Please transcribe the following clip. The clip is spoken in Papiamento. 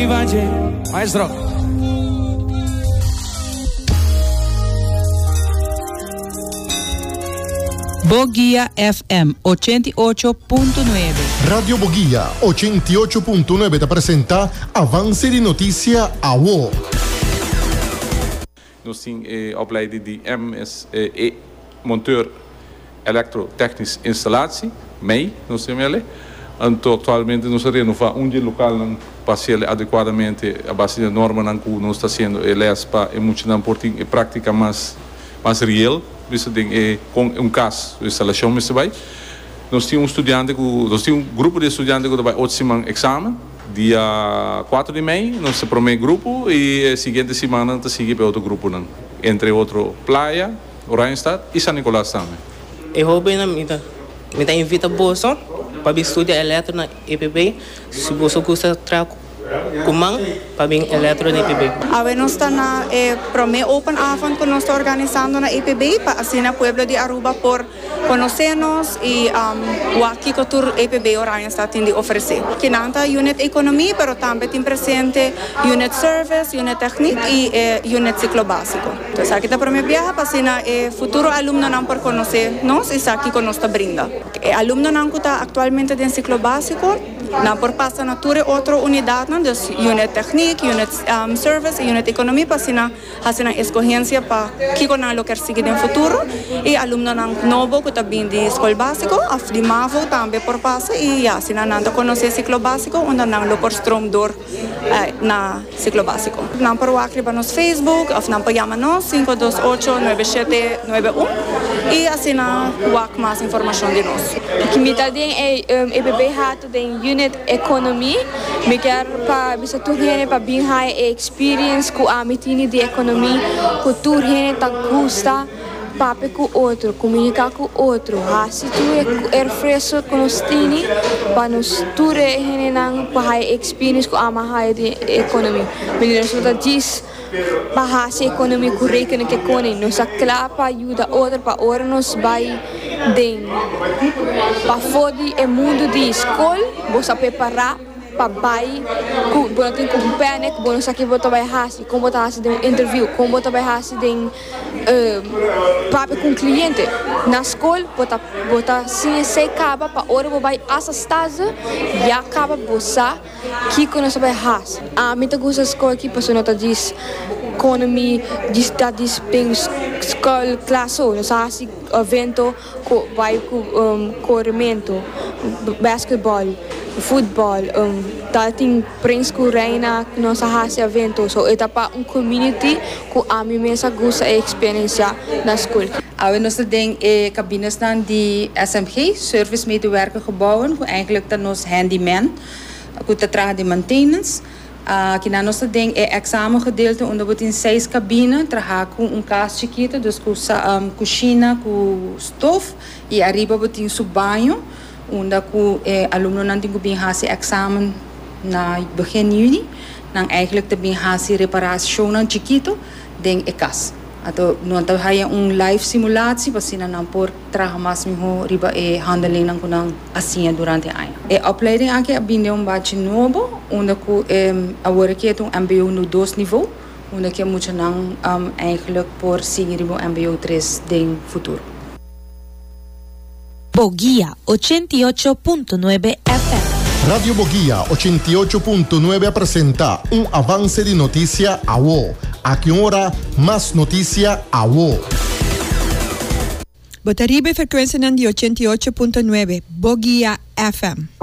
riba dje. Maestro. Boguia FM 88.9. Radio Boguia 88.9 ta presenta Avance di Noticia Awo. Nos tin e opleiding di MSE, Monteur Elektrotechnisch Installatie, mei, nos tin mele. Anto aktualmente nos a renova un di e lokalnan pa hasiel adekuadamente a base di e normanan ku nos ta hasiendo e les pa e muchanan por tin e praktika mas mas real bisa den e kon un kas su instalashon mester bai. Nos tin un studiante ku nos tin un grupo di studiante ku ta bai ocho siman eksamen. Dia kuater di mei nos ta promé grupo i e siguiente simannan ta sigui pa e otro gruponan, entre otro Playa, Oranjestad i San Nicolas tambe. E hóbennan mi ta mi ta invita boso pa bin studia electro na EPB. Si boso gusta traha ku man pa bin electro na EPB. Awe nos ta na e promé open avond ku nos ta organisando na EPB pa asina pueblo di Aruba por Conoce nos y wak kico tur EPB Oranjestad tin di ofrece. Kinan ta Unit Economie pero tambe tin presente Unit Service, Unit Techniek y e Unit Ciclo Basico. Esaki ta prome biaha pa asina e futuro alumnonan por conoce nos y sa kico nos ta brinda. E alumnonan cu ta actualmente den Ciclo Basico nan por pasa na tur e otro unidadnan, dus Unit Techniek, Unit Service y Unit Economie pa asina. Hasi nan eskohensia pa kiko nan lo kier sigui den futuro i alumnonan nobo ku ta bin di skol básiko òf di mavo tambe por pasa i ya asina nan ta konosé siklo básiko unda nan lo por stroom dor na siklo básiko. Nan por wak riba nos Facebook òf nan por yama nos 528 9791 i asina wak mas informashon di nos. Mi ta den e EPB Hato den unit Economie. Mi kier pa bisa tur hende pa bin haya e experience cu ami tini di economie cu tur hende ta gusta papia cu otro, comunica cu otro, haci tur e refresco cu nos tini pa nos tur e hendenan pa haya e experience cu ami a haya di economie. Manera nos no ta djis pa haci economie cu rekenen ke kone, nos ta cla pa yuda otro pa ora nos bay den pafo di e mundo di school bo sa prepara pa bai ku bo no tin ku panic, bo no sa ki bo ta bai hasi, kon bo ta hasi den un interview, kon bo ta bai hasi den papia ku un kliente. Na skol bo ta bo ta siña esei kaba pa ora bo bai asa stage ya kaba bo sa kiko nos ta bai hasi. Ami ta gusta skol aki pasobra no ta djis konomi djis ta djis den skol klas so, nos a hasi evento. Ku bai ku korementu, basketball, futbol, ta tin prins ku reina ku nos a hasi evento. So e ta pa un community ku ami mes a gusta e experiencia na school. Awe nos ta den e cabinesnan di SMG, Service Medewerker Gebouwen, cu eigenlijk ta nos handyman cu ta traha den maintenance. Kinan nos ta den e examengedeelte unda bo tin seis cabina traha cu un cas chikito, dus cu cushina cu stof y ariba bo tin su baño unda cu e alumnonan tin cu bin haci examen na begin juni. Nan eigenlijk ta bin haci reparacionnan chikito den e cas. Anto nan ta haya un live simulatie pa asina nan por traha mas miho riba e handelingnan ku nan a siña durante e aña. E opleiding aki a bini den un bachi nobo unda ku awor aki e ta un mbo nu dos nivo unda ku e muchanan eigenlijk por sigui riba un mbo tres den futuro. Boguia 88.9 FM. Radio Boguia 88.9 a presenta un avance di noticia awo. Aki un ora, mas noticia awo. Bo ta riba e frekuensianan di 88.9 Boguia FM.